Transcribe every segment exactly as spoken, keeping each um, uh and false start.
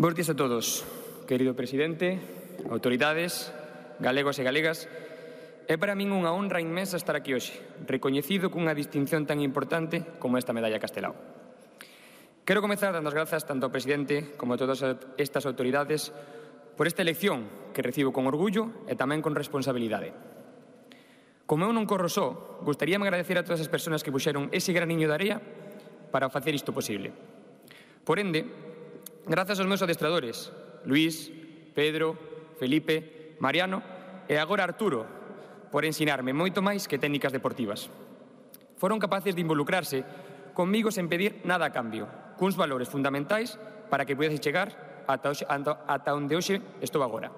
Bos días a todos, querido presidente, autoridades, galegos e galegas. É para min unha honra inmensa estar aquí hoxe, recoñecido cunha distinción tan importante como esta medalla Castelao. Quero comezar dando as grazas tanto ao presidente como a todas estas autoridades por esta elección que recibo con orgullo e tamén con responsabilidade. Como eu non corro só, gustaríame agradecer a todas as persoas que puxeron ese graniño de area para facer isto posible. Por ende, grazas aos meus adestradores, Luís, Pedro, Felipe, Mariano e agora Arturo, por ensinarme moito máis que técnicas deportivas. Foron capaces de involucrarse conmigo sen pedir nada a cambio, cuns valores fundamentais para que pudese chegar ata, hoxe, ata onde hoxe estou agora.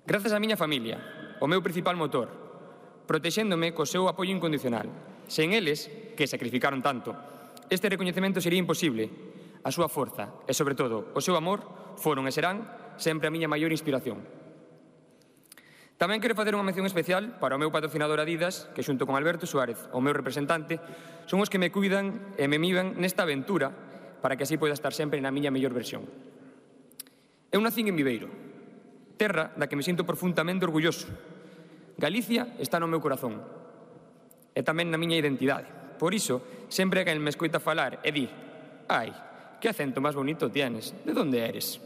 Grazas á miña familia, o meu principal motor, protexéndome co seu apoio incondicional. Sen eles, que sacrificaron tanto, este recoñecemento sería imposible. A súa forza e, sobre todo, o seu amor foron e serán sempre a miña maior inspiración. Tamén quero facer unha mención especial para o meu patrocinador Adidas, que xunto con Alberto Suárez, o meu representante, son os que me cuidan e me miman nesta aventura para que así poida estar sempre na miña mellor versión. Eu nacín en Viveiro, terra da que me sinto profundamente orgulloso. Galicia está no meu corazón e tamén na miña identidade. Por iso, sempre que me escoita falar e di «Ai, que acento máis bonito tienes, de onde eres?»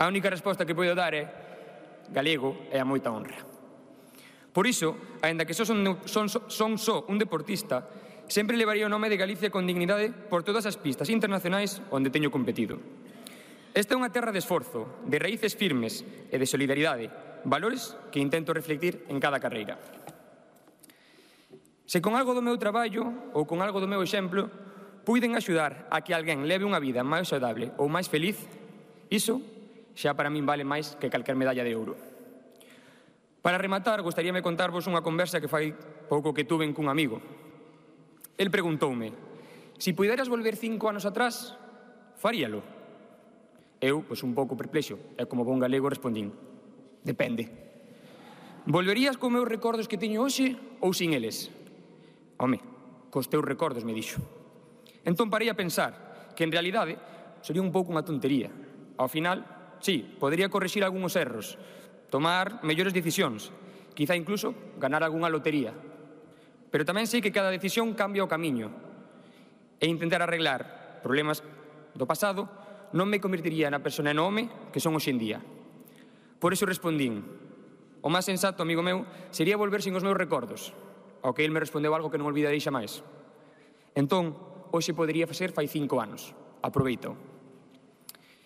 A única resposta que podo dar é galego e a moita honra. Por iso, aínda que só son, son, son só un deportista, sempre levaría o nome de Galicia con dignidade por todas as pistas internacionais onde teño competido. Esta é unha terra de esforzo, de raíces firmes e de solidaridade, valores que intento reflectir en cada carreira. Se con algo do meu traballo ou con algo do meu exemplo puiden axudar a que alguén leve unha vida máis saudável ou máis feliz, iso xa para min vale máis que calquer medalla de ouro. Para rematar, gostaríame contarvos unha conversa que fai pouco que tuven cun amigo. El preguntoume, si puderas volver cinco anos atrás, faríalo? Eu, pois un pouco perplexo, e como bon galego respondín, depende. Volverías con meus recordos que teño hoxe ou sin eles? Home, cos teus recordos, me dixo. Entón parei a pensar que en realidade sería un pouco unha tontería. Ao final, sí, podería corrixir algúns erros, tomar mellores decisións, quizá incluso ganar algunha lotería. Pero tamén sei que cada decisión cambia o camiño e intentar arreglar problemas do pasado non me convertiría na persona e no home que son hoxe en día. Por iso respondín, o máis sensato, amigo meu, sería volver sin os meus recordos, ao que el me respondeu algo que non olvidarei xa máis. Entón, hoxe podería facer fai cinco anos. Aproveito.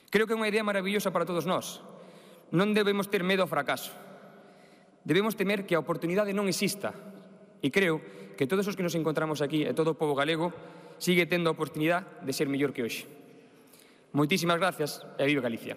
Creo que é unha idea maravillosa para todos nós. Non debemos ter medo ao fracaso. Debemos temer que a oportunidade non exista. E creo que todos os que nos encontramos aquí e todo o pobo galego sigue tendo a oportunidade de ser mellor que hoxe. Moitísimas gracias e viva Galicia.